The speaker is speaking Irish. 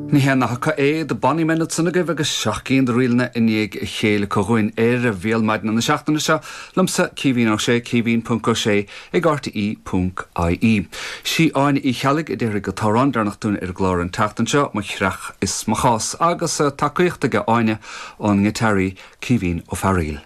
Ní haon nath acu é The Bonny Men ansan agaibh agus 7 gcinn de ríleanna i ndiaidh a chéile acu dhúinn ar Bhéal Maidine na seachtaine seo, liomsa Caoimhín Ó Sé, caoimhín ponc Ó Sé ag rte ponc ie. Sí Áine Uí Cheallaigh a déarfaidh an t-amhrán deireanach dúinn ar an gclár an tseachtain seo, Mo Chreach is Mo Chás, agus tacaíocht aige Áine ón ngiotáraí Caoimhín Ó Fearaíl.